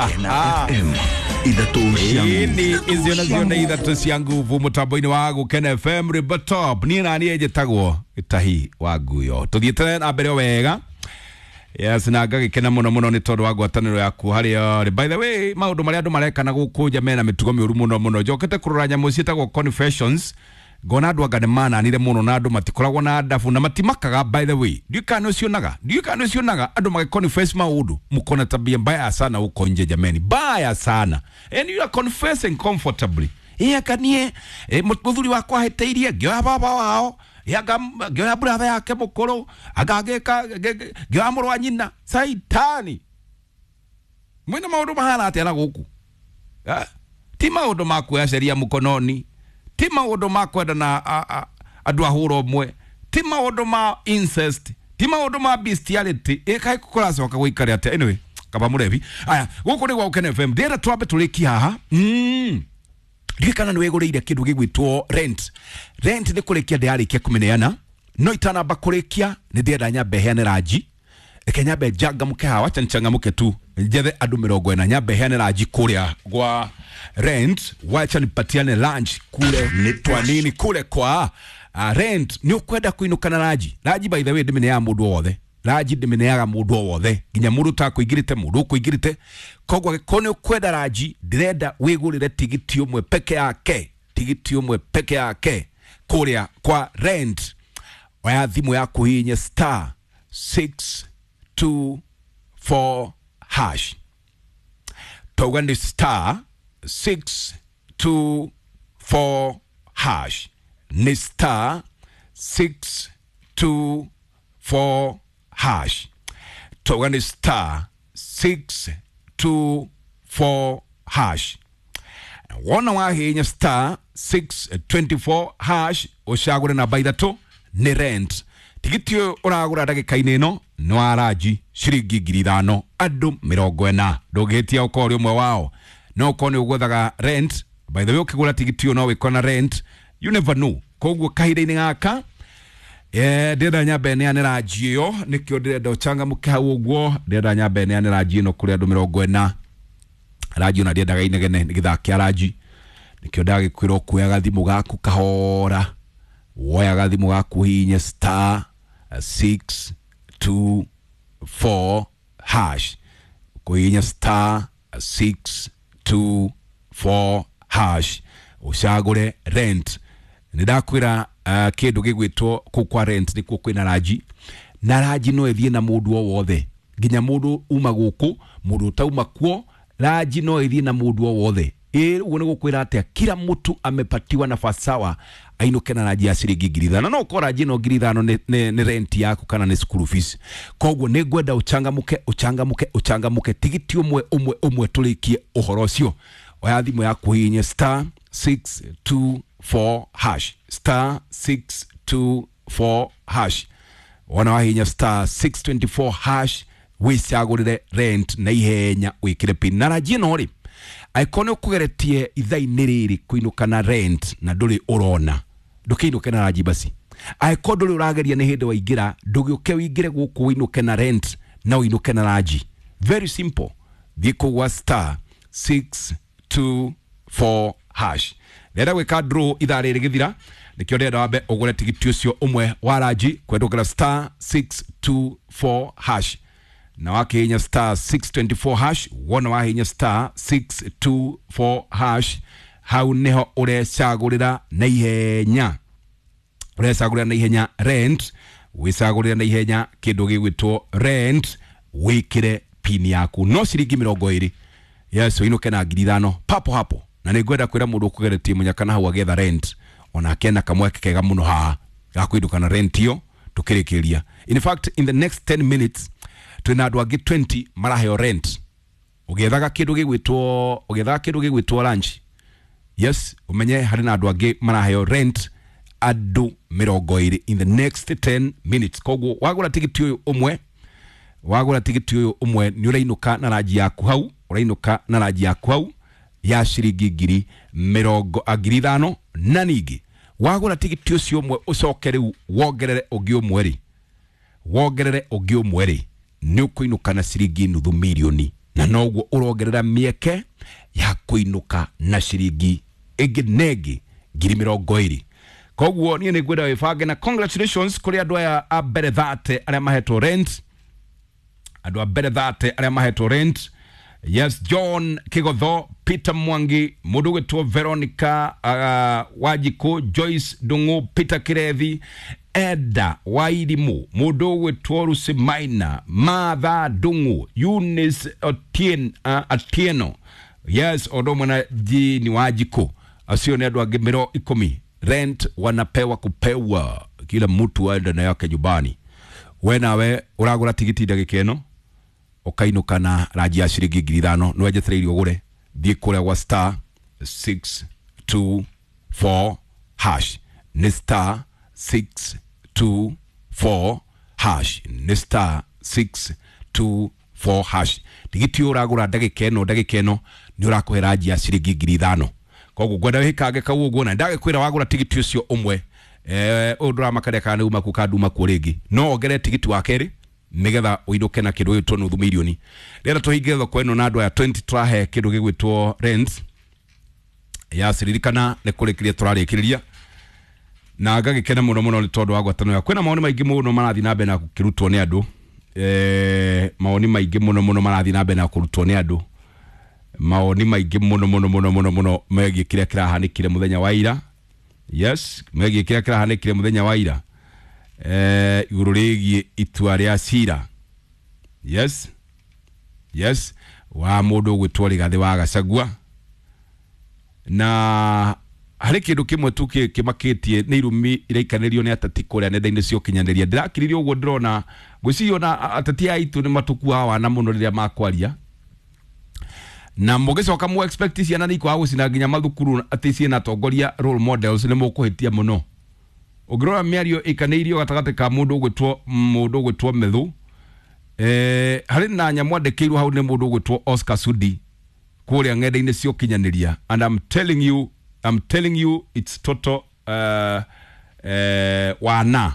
Gũkena FM ithatũ cia Ini icio nacio nĩ ithatũ cia nguvu mũtambo-inĩ wa Gũkena FM River Top. Niĩ na niĩ njĩtagwo Gĩtahi wa Nguyo. Tũthiĩte na mbere o wega. Yes, na ngagĩkena mũno mũno nĩ tondũ wa ngwatanĩro yaku harĩa ũrĩ. By the way, maũndũ marĩa andũ mareka na gũkũ nja mena mĩtugo mĩũru mũno mũno. Njokete kũrora nyamũ ciĩtagwo confessions, ngona andũ anga nĩ mananire mũno na andũ matikoragwo na ndabu na matimakaga. By the way, ndiũĩ kana nĩ ũcionaga, ndiũĩ kana nĩ ũcionaga andũ magĩconfess maũndũ, mko tabia mbaya sana huko nje jameni, mbaya sana, and you are confessing comfortably. Ĩ niĩ mũthuri wakwa ahĩtĩirie, ngĩoya baba wao, anga ngĩoya brother yake mũkũrũ, anga ngĩka ngĩoya mũrũ wa nyina. Saitani, mwĩna maũndũ mahana atĩa na gũkũ? Eh? Ti maũndũ ma kuoya sheria mkononi, ti maũndũ ma kwenda na andũ a hũra ũmwe, ti maũndũ ma incest, ti maũndũ ma bestiality. Ĩ kaĩ kũracoka gũikare atĩa? Anyway, kaba mũrebi aya, gũkũ nĩ gwa Gũkena FM. Ndĩrenda twambe tũrĩkie haha. Ndiũĩ kana nĩ wĩgũrĩire kĩndũ gĩgwĩtwo rent. Rent nĩ kũrĩkia ndĩrarĩkia kũmĩneana, no itanamba kũrĩkia nĩ ndĩrenda nyambe heane ranji. Reke nyambe njangamũke haha, wacha nichangamke tu, njethe andũ 40, nyambe heane ranji kũrĩa gwa rent. Wacha nipatiane lunch kule Nĩ kwa nini kule kwa rent. Nĩ ũkwenda kũinũka na ranji. Ranji, by the way, ndĩmĩneaga mũndũ o wothe. Ranji ndĩmĩneaga mũndũ o wothe, nginya mũndũ ũtakũingĩrĩte, mũndũ ũkũingĩrĩte. Koguo angĩkorwo nĩ ũkwenda ranji, ndĩrenda wĩgũrĩre tigiti ũmwe peke yake, tigiti ũmwe peke yake kũrĩa kwa rent. Oya thimũ yaku, hihinye star 624 hash. Tauga nĩ star 624 hash, nĩ star 624 hash. Tauga nĩ star 624 hash. Wona wahinya star 624 hash, ũcagũre namba ithatũ, nĩ rent. Tigiti ũyũ ũragũra ndagĩka-inĩ ĩno nĩ wa ranji ciringi 5,000, andũ 40. Ndũngĩhĩtia ũkorwo ũrĩ ũmwe wao. No ũkorwo nĩ ũgwethaga rent. By the way, ũkĩgũra tigiti ũyũ no wĩkore na rent, you never know. Koguo kahinda-inĩ gaka, ndĩrenda nyambe neane ranji ĩyo, nĩkĩo ndĩrenda ũcangamũke hau ũguo. Ndĩrenda nyambe neane ranji ĩno kũrĩ andũ 40. Ranji ona ndiendaga inegene, nĩ gĩthaa kĩa ranji, nĩkĩo ndagĩkwĩra ũkuoya gathimũ gaku kahora. Woya gathimũ gaku, hihinye star 624 hash. Kũhihinya star 624 hash, ũcagũre rent. Nĩ ndakwĩra kĩndũ gĩgwĩtwo kũu kwa rent nĩkuo kwĩna ranji, na ranji no ĩthiĩ na mũndũ o wothe, nginya mũndũ uma gũkũ, mũndũ ũtauma kuo. Ranji no ĩthiĩ na mũndũ o wothe. Ĩ ũguo nĩ gũkwĩra atĩa? Kila mtu amepatiwa nafasi sawa ainũke na ranji ya ciringi 5,000. No ũkorwo ranji ĩno 5,000 nĩ rent yaku kana nĩ school fees. Koguo nĩ ngwenda ũchangamũke, ũchangamũke, ũchangamũke. Tigiti ũmwe ũmwe ũmwe tũrĩkie ũhoro ũcio. Oya thimũ yaku, hihinye star 624 hash, star 624 hash. Wona wahinya star 624 hash, wĩcagũrĩre rent na ihenya, wĩkĩre pin. Na ranji ĩno rĩ, angĩkorwo nĩ ũkũgeretie ithaa-inĩ rĩrĩ kũinũka na rent na ndũrĩ ũrona, ndũkĩinũke na ranji basi. Angĩkorwo ndũrĩ ũrageria, nĩ hĩndĩ waingĩra, ndũgĩũke wĩingĩre gũkũ ũinũke na rent na ũinũke na ranji. Very simple, thiĩ kũu gwa star 624 hash. Ndĩrenda gwĩka draw ithaa rĩrĩ gĩthira, nĩkĩo ndĩrenda wambe ũgũre tigiti ũcio ũmwe wa ranji kwendũkĩra star 624 hash. Na wakihinya star 624 hash, wona wahinya star 624 hash, hau niho ũrecagũrĩra na ihenya, ũrecagũrĩra na ihenya rent, wĩcagũrĩra na ihenya kĩndũ gĩgwĩtwo rent, wĩkĩre pin yaku no ciringi 20. Yes, ũinũke na 5,000 papo hapo. Na nĩ ngwenda kwĩra mũndũ ũkũgeretie mũnyaka na hau agĩetha rent, onake ena kamweke kega mũno haha ga kũinũka na rent ĩyo tũkĩrĩkĩria. In fact, in the next 10 minutes twĩna andũ angĩ 20 maraheo rent. Ũgĩethaga kĩndũ gĩgwĩtwo, ũgĩethaga kĩndũ gĩgwĩtwo lunch, yes, ũmenye harĩ na andũ angĩ maraheo rent, andũ 20 in the next 10 minutes. Koguo wagũra tigiti ũyũ ũmwe, wagũra tigiti ũyũ ũmwe, nĩ ũrainũka na ranji yaku hau, ũrainũka na ranji yaku hau ya ciringi ngiri mĩrongo 5,000. Na ningĩ wagũra tigiti ũcio ũmwe, ũcoke rĩu wongerere ũngĩ ũmwe rĩ, wongerere ũngĩ ũmwe rĩ, nĩ ũkũinũka na ciringi nuthu mirioni. Na noguo ũrongerera mĩeke ya kũinũka na ciringi ĩngĩ na ĩngĩ 20,000. Koguo niĩ nĩ ngwenda wĩbange na congratulations kũrĩ andũ aya a mbere 30 arĩa mahetwo rent, andũ a mbere 30 arĩa mahetwo rent. Yes, John Kigotho, Peter Mwangi, mũndũ ũgwĩtwo Veronica Wanjikũ, Joyce Ndung'u, Peter Kirethi, Eda Wairimu, mũndũ ũgwĩtwo Lucy Maina, Martha Ndung'u, Eunice Atieno. Yes, o ũndũ ũmwe na Jini Wanjikũ. Acio nĩ andũ angĩ 10. Rent wanapewa kupewa, kila mtu aende na yake nyumbani. We nawe ũragũra tigiti ndagĩka ĩno ũkainũka na ranji ya ciringi 5,000 nĩ wenjetereire ũgũre. Thiĩ kũrĩa gwa star 624 hash, nĩ star 624 hash, nĩ star 624 hash. Tigiti ũyũ ũragũra ndagĩka ĩno, ndagĩka ĩno nĩ ũrakũhe ranji ya ciringi 5,000. Koguo ngwenda wĩkange kau ũguo, na ndagĩkwĩra wagũra tigiti ũcio ũmwe, ũyũ ndũramakaria kana nĩ uma kuo kana nduma kuo rĩngĩ, no wongerere tigiti wa kerĩ nigetha ũinũke na kĩndũ gĩgwĩtwo nuthu mirioni. Rĩrĩa tũhinge thoko ĩno na andũ aya 20 tũrahe kĩndũ gĩgwĩtwo rent ya ciririkana nĩ kũrĩkĩria tũrarĩkĩrĩria, na ngagĩkena mũno mũno nĩ tondũ wa ngwatanĩro yaku. Kwĩna mawoni maingĩ mũno marathiĩ na mbere na gũkĩrutwo nĩ andũ, mawoni maingĩ mũno mũno marathiĩ na mbere na kũrutwo nĩ andũ, mawoni maingĩ mũno mũno mũno mũno mũno megiĩ kĩrĩa kĩrahanĩkire mũthenya wa ira. Yes, megiĩ kĩrĩa kĩrahanĩkire mũthenya wa ira, igũrũ rĩgiĩ itua rĩa cira. Yes, yes, wa mũndũ ũgwĩtwo Rigathĩ wa Gachagua. Na harĩ kĩndũ kĩmwe tu kĩmakĩtie nĩ irumi iraikanĩrio nĩ ateti kũrĩa nenda-inĩ cia ũkinyanĩria. Ndĩrakiririe ũguo ndĩrona, ngwĩciria ona ateti aya aitũ nĩ matũkuaga wana mũno rĩrĩa makwaria, na mũgĩcoka mu expect ciana nĩ ikwaga gũcina nginya mathukuru atĩ ciĩna atongoria role models, nĩ mũkũhĩtia mũno. Ũngĩrora mĩario ĩkanĩirio gatagatĩ ka mũndũ ũgwĩtwo Methu, harĩ na nyamũ andĩkĩirwo hau nĩ mũndũ ũgwĩtwo Oscar Sudi kũrĩa ng'enda-inĩ cia ũkinyanĩria, and I'm telling you, I'm telling you it's total wana,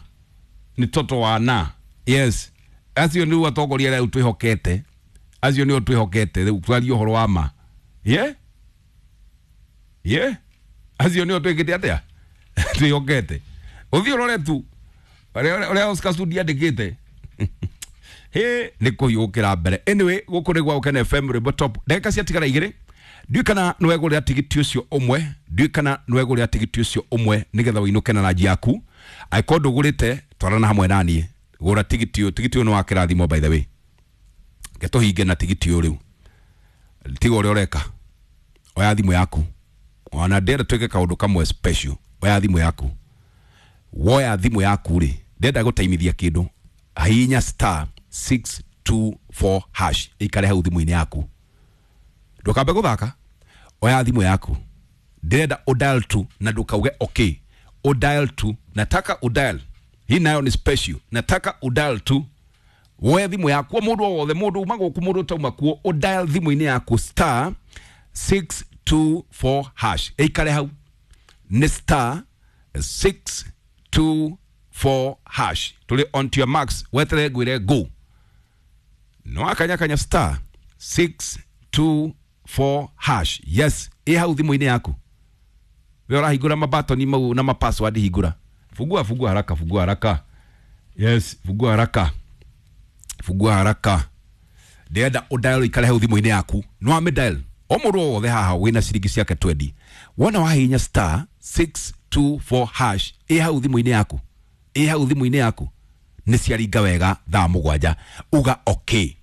nĩ total wana. Yes, acio nĩo atongoria arĩa rĩu twĩhokete, acio nĩo twĩhokete rĩu twarie ũhoro wa ma. Yeah, yeah, acio nĩo twĩkĩte atĩa twĩhokete. Ũthiĩ ũrore tu ũrĩa Oscar Sudi andĩkĩte. He nĩ kũhiũkĩra mbere. Anyway, gũkũ nĩ gwa Gũkena FM Rwĩmbo Top. Ndagĩka ciatigara igĩrĩ, ndiũĩ kana nĩ wegũrĩra tigiti ũcio ũmwe, ndiũĩ kana nĩ wegũrĩra tigiti ũcio ũmwe nĩgetha ũinũke na ranji yaku. Angĩkorwo ndũgũrĩte, twarana hamwe na niĩ, gũra tigiti ũyũ. Tigiti ũyũ nĩ wa kĩrathimo by the way. Reke tũhinge na tigiti ũyũ rĩu. Tiga ũrĩa ũreka, oya thimũ yaku. Ona ndĩrenda twĩke kaũndũ kamwe special. Oya thimũ yaku, woya thimũ yaku rĩ, ndĩrenda gũtaimithia kĩndũ. Hihinya star 624 hash ikare hau thimũ-inĩ yaku, ndũkambe gũthaka. Oya thimũ yaku, ndĩrenda udial tu na ndũkauge okay, udial tu, nataka udial. Hii nayo ni special, nataka udial tu. Woya thimũ yaku, mũndũ o wothe, mũndũ uma gũkũ, mũndũ ũtauma kuo, udial thimũ-inĩ yaku star 624 hash ĩikare hau, nĩ star 624 hash. Tũrĩ on to your marks, weterere ngwĩre go. No akanyakanya star 624 hash. Yes, ĩ hau thimũ-inĩ yaku. We ũrahingũra mabatoni mau na mapassword, hingũra. Fungua, fungua haraka, fungua haraka. Yes, fungua haraka, fungua haraka. Ndĩrenda ũdial ikare hau thimũ-inĩ yaku. No amĩdial o mũndũ o wothe haha wĩna ciringi ciake 20. Wona wahihinya star 624 hash ĩ hau thimũ-inĩ yaku, ĩ hau thimũ-inĩ yaku, nĩ ciaringa wega thaa 7. Uga okay,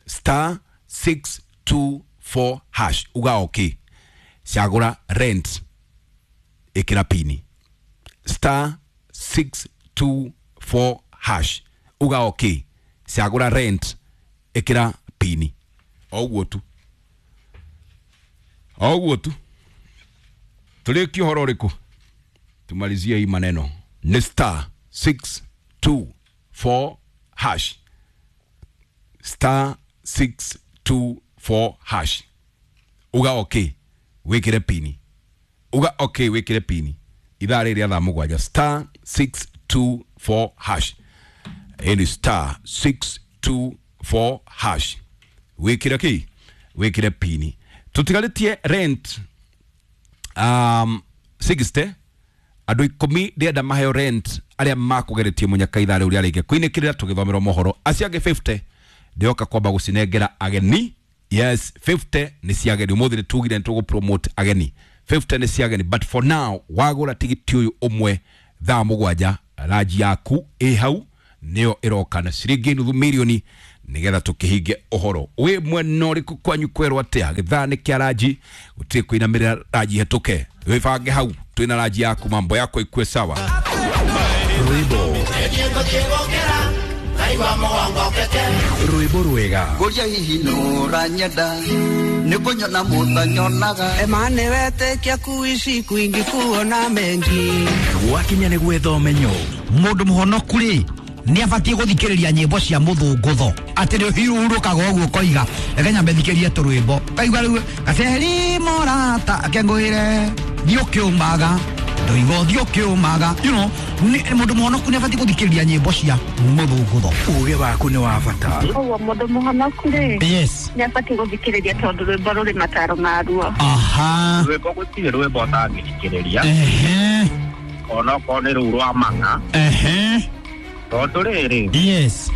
star 624 hash, uga okay. Cagũra rent, ĩkĩra pini star 624 hash, uga okay. Cagũra rent, ĩkĩra pini. O ũguo tu, o ũguo tu. Tũrĩkie ũhoro ũrĩkũ? Tumalizie hii maneno. Ni star 624 hash, star 624 hash, uga okay, wĩkĩre pini. Uga okay, wĩkĩre pini. Ithaa rĩrĩ rĩa thaa 7, star 624 hash. Ĩni star 624 hash, wĩkĩre kĩ? Wĩkĩre pini. Tũtigarĩtie rent 60 andũ 10 ndĩrenda maheo rent arĩa makũgeretie mũnyaka ithaa rĩu rĩarĩkia kũinĩkĩrĩra tũgĩthomerwo mohoro. Acio angĩ 50 ndĩroka kwamba gũcinengera ageni. Yes, 50 nĩ cia ageni. Ũmũthĩ nĩ tugire nĩ tũgũ promote ageni. 50 nĩ cia ageni, but for now wagũra tigiti ũyũ ũmwe thaa 7 ranji yaku ĩ hau nĩyo ĩroka na ciringi nuthu mirioni nigetha tukihinge ũhoro. Wĩ mwena ũrĩkũ kwanyu kwerwo atĩa? Gĩthaa nĩ kĩa ranji, gũtirĩ kũinamĩrĩra ranji hetũke. Wĩbange hau twĩna ranji yaku, mambo yako ikue sawa. Rwĩmbo rwĩmbo rwega. Ngũria hihi nũranyenda nĩ kũnyona mũtanyonaga. Emane wetĩkia kuishi kwingi kuona mengi. Gwakinya nĩ gwetha ũmenyo. Mũndũ mũhonoku rĩ nĩ abatiĩ gũthikĩrĩria nyĩmbo cia mũthũngũtho atĩ nĩ ũhurũkaga ũguo ũkoiga reke nyambe thikĩrie tũrwĩmbo kaigua rĩu gaceri morata akengũĩre thiĩ ũkĩũmaga ndoiga ũthiĩ ũkĩũmaga, you know, mũndũ mũhonoku nĩ abatiĩ gũthikĩrĩria nyĩmbo cia mũthũngũtho. Uge waku nĩ wa bata. Koguo mũndũ mũhonoku rĩ, yes, nĩ abatiĩ gũthikĩrĩria tondũ rwĩmbo rũrĩ mataro maruo. Aha. Rwĩmbo gũtirĩ rwĩmbo ũtangĩthikĩrĩria. Ehe. Onokorwo nĩ rũu rwa mang'a. Ehe. Tondũ rĩrĩ, yes,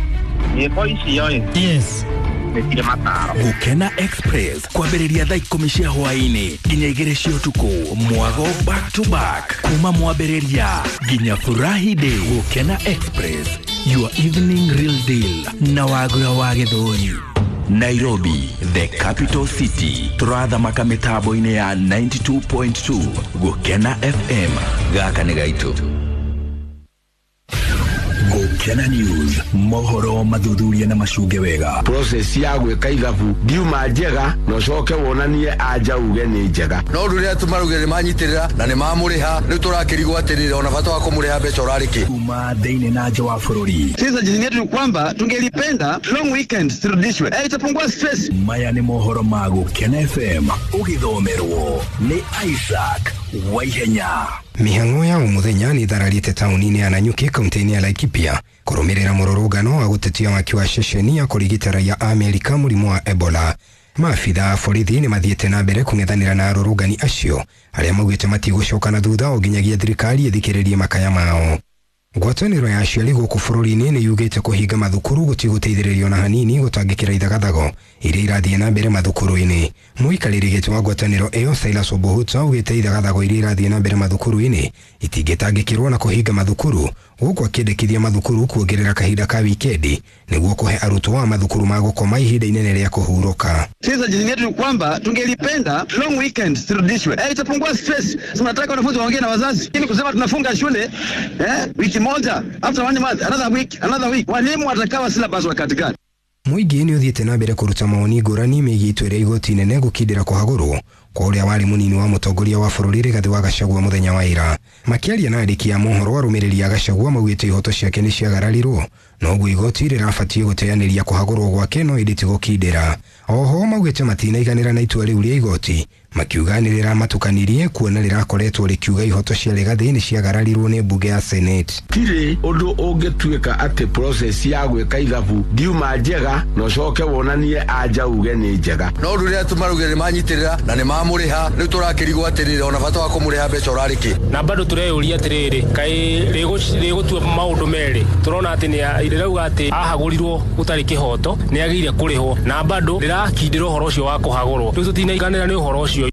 nyĩmbo icio ĩ, yes, nĩ cirĩ mataro. Gũkena Express kwambĩrĩria thaa 10 cia hwaĩ-inĩ nginya 2 cia ũtukũ. Mwago back to back kuma mwambĩrĩria nginya furahi day. Gũkena Express, your evening real deal na Wagura wa Gĩthũri. Nairobi, the capital city. Tũrathamaka mĩtambo-inĩ ya 92.2 Gũkena FM. Gaka nĩ gaitũ. Gũkena News, mohoro mathuthuria na macunge wega. Process ya gwĩka ithabu ndiuma njega na ũcoke wonanie anja uge nĩ njega. No rĩrĩa tũmarugire nĩ manyitĩrĩra na nĩ mamũrĩha rĩu tũrakĩrigwo atĩrĩrĩ ona bata wa kũmũrĩha mbeca ũrarĩ kĩ. Kuma thĩinĩ na nja wa bũrũri. Sisi suggestion yetu ni kwamba tungelipenda long weekend zirudishwe. Itapungua stress. Maya nĩ mohoro ma Gũkena FM ũgĩthomerwo nĩ Isaac Waihenya. Mĩhang'o ya o mũthenya nĩ ĩthararĩte taũni-inĩ ya Nanyuki kaunti-inĩ ya Laikipia kũrũmĩrĩra mũrũrũngano wa gũtetia waki wa ceceni ya kũrigita raia a Amerika mũrimũ wa Ebola. Maabitha a borithi nĩ mathiĩte na mbere kũng'ethanĩra na arũrũngani acio arĩa maugĩte matigũcoka na thutha o nginyagia thirikari ĩthikĩrĩrie makaya mao. Ngwatanĩro ya aciari gũkũ bũrũri-inĩ nĩ yugĩte kũhinga mathukuru gũtigũteithĩrĩrio na hanini gũtangĩkĩra ithagathago iria irathiĩ na mbere mathukuru-inĩ. Mũikarĩri gĩtĩ wa ngwatanĩro ĩyo Silas Obuhuta augĩte ithagathago iria irathiĩ na mbere mathukuru-inĩ itingĩtangĩkĩrwo na kũhinga mathukuru, gũkũ akĩendekithia mathukuru kuongerera kahinda ka wikendi nĩguo kũhe arutwo a mathukuru ma gũkoma ihinda inene rĩa kũhurũka. Sisi suggestion yetu ni kwamba tungelipenda long weekend zirudishwe. Itapungua stress. Tunataka wanafunzi waongee na wazazi. Lakini kusema tunafunga shule wiki moja, after one month, another week, another week. Walimu watakawa syllabus wakati gani? Mũingĩ nĩ ũthiĩte na mbere kũruta mawoni ngũrani megiĩ itua rĩa igoti inene gũkindĩra kũhagũrwo kwa ũrĩa warĩ mũnini wa mũtongoria wa bũrũri Rigathĩ wa Gachagua mũthenya wa ira. Makĩaria na andĩki a mohoro arũmĩrĩri a Gachagua maugĩte ihoto ciake nĩ ciagararirwo noguo igoti rĩrabatiĩ gũteanĩria kũhagũrwo gwake no ĩndĩ ti gũkindĩra. Oho maugĩte matinaiganĩra na itua rĩu rĩa igoti makiuga nĩ rĩramatukanirie kuona rĩrakoretwo rĩkiuga ihoto cia Rigathĩ nĩ ciagararirwo nĩ mbunge ya Senate. Tirĩ ũndũ ũngĩtuĩka atĩ process ya gwĩka ithabu ndiuma njega na ũcoke wonanie anja uge nĩ njega. No rĩrĩa tũmarugire nĩ manyitĩrĩra na nĩ mamũrĩha rĩu tũrakĩrigwo atĩrĩrĩ ona bata wa kũmũrĩha mbeca ũrarĩ kĩ. Na bado tũreyũria atĩrĩrĩ kaĩ rĩgũtua maũndũ merĩ tũrona atĩ nĩ rĩrauga atĩ ahagũrirwo gũtarĩ kĩhoto nĩ agĩrĩire kũrĩhwo na bado rĩrakindĩra ũhoro ũcio wa kũhagũrwo rĩu tũtinaiganĩra nĩ ũhoro ũcio.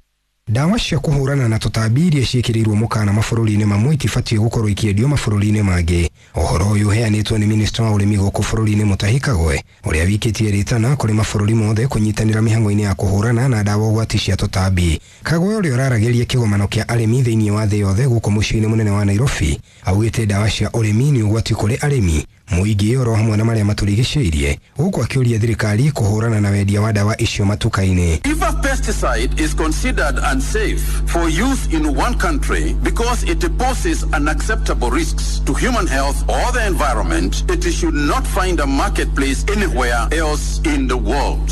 Ndawa cia kũhũrana na tũtambi iria ciĩkĩrĩirwo mũkana mabũrũri-inĩ mamwe itibatiĩ gũkorwo ikĩendio mabũrũri-inĩ mangĩ. Ũhoro ũyũ ũheanĩtwo nĩ minista wa ũrĩmi gũkũ bũrũri-inĩ Mutahi Kagwe ũrĩa wikĩtie rĩtana kũrĩ mabũrũri mothe kũnyitanĩra mĩhang'o-inĩ ya kũhũrana na ndawa ũgwati cia tũtambi. Kagwe ũrĩa ũraragĩria kĩgomano kĩa arĩmi thĩinĩ wa thĩ yothe gũkũ mũciĩ-inĩ mũnene wa Nairobi augĩte ndawa cia ũrĩmi nĩ ũgwati kũrĩ arĩmi mũingĩ oro hamwe na marĩa matũrigicĩirie gũkũ akĩũria thirikari kũhũrana na wendia wa ndawa icio matuka-inĩ. If a pesticide is considered unsafe for use in one country because it poses unacceptable risks to human health or the environment, it should not find a marketplace anywhere else in the world.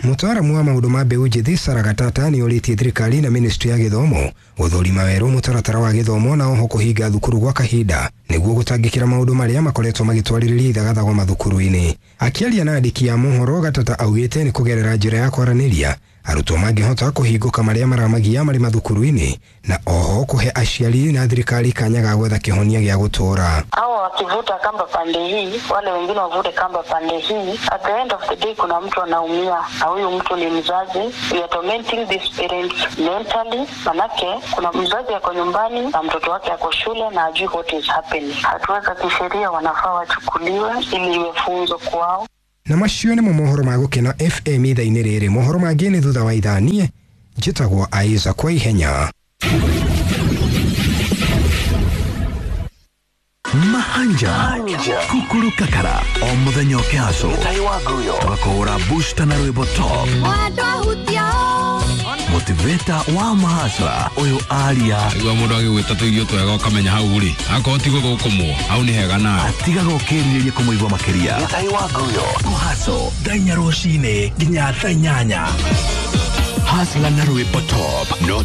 Mũtaaramu wa maũndũ ma mbeũ njĩthĩ Sarah Gatata nĩ orĩtie thirikari na ministry ya gĩthomo gũthũrima werũ mũtaratara wa gĩthomo na oho kũhinga thukuru gwa kahinda nĩguo gũtangĩkĩra maũndũ marĩa makoretwo magĩtwarĩrĩria ithagathago mathukuru-inĩ. Akĩaria na andĩki a mohoro, Gatata augĩte nĩ kũgerera njĩra ya kwaranĩria arutwo mangĩhota kũhingũka marĩa maramagia marĩ mathukuru-inĩ na oho kũhe aciari na thirikari kanya ga gwetha kĩhonia gĩa gũtũũra. Hawa wakivuta kamba pande hii, wale wengine wavute kamba pande hii. At the end of the day, kuna mtu anaumia, na huyu mtu ni mzazi. We are tormenting these parents mentally, manake kuna mzazi ako nyumbani na mtoto wake ako shule na ajui what is happening. Hatua za kisheria wanafaa wachukuliwe ili iwe funzo kwao. Na macio nĩmo mohoro ma Gũkena FM ithaa-inĩ rĩrĩ. Mohoro mangĩ nĩ thutha wa ithaa. Niĩ njĩtagwo Aiza kwa ihenya. Mahanja kukuru kakara o muthenya ũkĩhacwo tũgakũhũra booster na rwĩmbo top motiveta wa mahasra ũyũ aria. Igua mũndũ agĩgwĩta tũirio twega ũkamenya hau rĩ akorwo ti gũthũkũmwo hau nĩ hega nawe. Atigaga ũkĩrirĩria kũmũigua makĩria. Kũhaco thaa 4 rũcinĩ nginya thaa 8. Hasla na rwĩmbo top no.